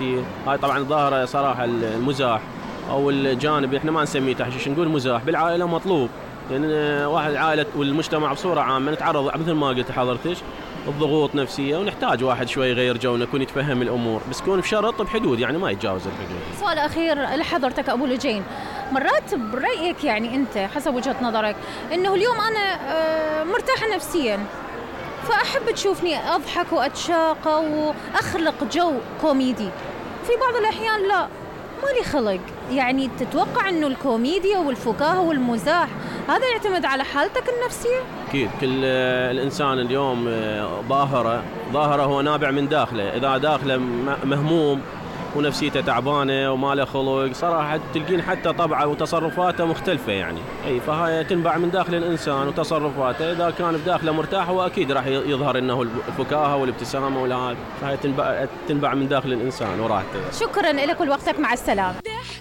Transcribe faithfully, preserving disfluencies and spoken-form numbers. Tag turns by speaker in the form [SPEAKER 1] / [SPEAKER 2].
[SPEAKER 1] نفسيه. هاي طبعا ظاهره صراحه المزاح او الجانب احنا ما نسميه تحشيش، نقول مزاح بالعائله مطلوب، لان يعني واحد عائله والمجتمع بصوره عامه نتعرض مثل ما قلت حضرتك الضغوط نفسيه، ونحتاج واحد شوي يغير جو، يكون يتفهم الامور، بس يكون بشرط بحدود، يعني ما يتجاوز الحدود.
[SPEAKER 2] سؤال اخير لحضرتك ابو لجين، مرات برايك يعني انت حسب وجهه نظرك انه اليوم انا مرتاحه نفسيا فاحب تشوفني اضحك واتشاقى واخلق جو كوميدي، في بعض الاحيان لا مالي خلق، يعني تتوقع انه الكوميديا والفكاهه والمزاح هذا يعتمد على حالتك النفسيه؟
[SPEAKER 1] اكيد كل الانسان اليوم ظاهره ظاهره هو نابع من داخله، اذا داخله مهموم ونفسيته تعبانه وما له خلق صراحه تلقين حتى طبعه وتصرفاته مختلفه، يعني اي فهاي تنبع من داخل الانسان وتصرفاته، اذا كان بداخله مرتاح هو اكيد راح يظهر انه الفكاهه والابتسامه والهذا، فهي تنبع تنبع من داخل الانسان وراحته.
[SPEAKER 2] شكرا لك ولوقتك، مع السلامه.